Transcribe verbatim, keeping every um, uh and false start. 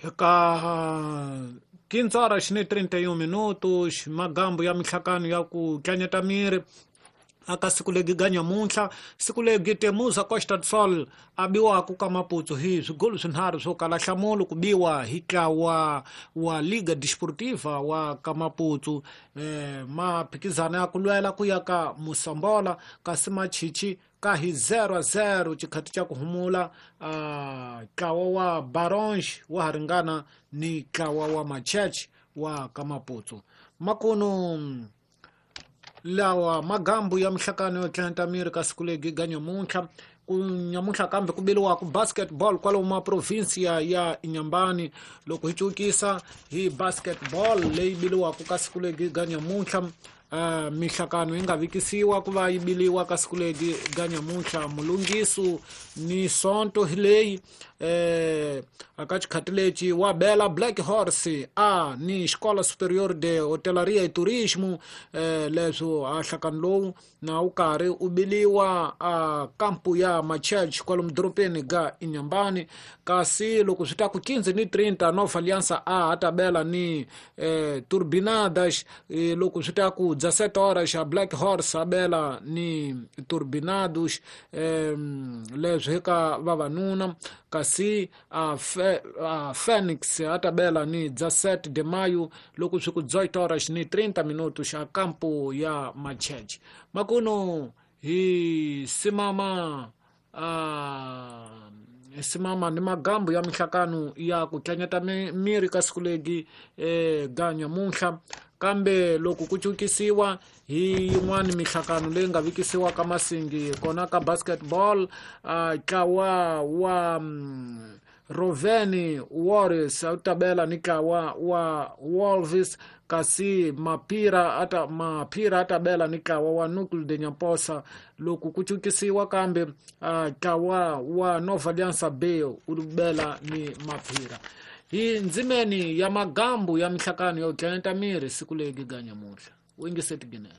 Eka quinze horas ni trinta e um minutos, magambo ya mihlakano ya ku tlanyeta miri aka siku legi ga nyamuntlha, siku legi Temuza Costa do Sol a biwaku ka Maputo hi swigolo swinharhu swo kala nhlamulo ku biwa hi ntlawa wa Liga Desportiva wa ka Maputo, eh, maphikizano ya ku lwela ku ya ka Moçambola, kasi Machichi ka hi zero a zero xikhati xa ku humula ntlawa wa Baronge wa ha ringana ni ntlawa wa Macheche wa ka Maputo. Makuno lawa magambo ya mihlakano yo tlanta miri ka siku legi ga nyamuntlha, ku nyamuntlha kambe ku biliwa ku basketball kwalomu ma provinsia ya Inhambane. Loko hi cukisa hi basketball leyi biliwaka ka siku legi ga nyamuntlha, uh, mihlakano yi nga vikisiwa ku va yi biliwa ka siku legi ga nyamuntlha Mulungisu ni Sonto hi leyi eh, aka xikhati lexi wa bela Black Horse a ni Escola Superior de Hotelaria e Turismo, eh, leswo a nhlakano lowu na wu karhi u biliwa a kampu ya Machurch kwalomu dorobeni ga Inhambane. Kasi loko swi ta ku quinze ni trinta Nova Aliança a ta bela ni eh, Turbinadas, eh, loko swi ta ku dezessete horas a Black Horse a bela ni Turbinados, eh, leswi hi ka vavanuna. Kasi a, fe, a Phoenix a ta bela ni dezessete de maio loko swi ku dezoito horas ni trinta minutos a kampo ya Machurch. Makuno hi simama a simama ni magambo ya mihlakano ya ku tlanyeta miri ka siku legi eh, ga nyamuntlha. Kambe loko ku cukisiwa hi yin'wani mihlakano leyi nga vikisiwa ka Masingi kona ka basketball, ntlawa wa um, Roveni Warriors a ta bela ni ntlawa wa Wolves, kasi Mapira ata Mapira ata bela ni ntlawa wa Núcleo de Nhampossa. Loko ku cukisiwa kambe ntlawa wa Nova Aliança B u bela ni Mapira. Hi ndzimeni ya magambo ya mihlakano yo tlanyeta miri siku legi ga nyamuntlha. U yingiseti ginene.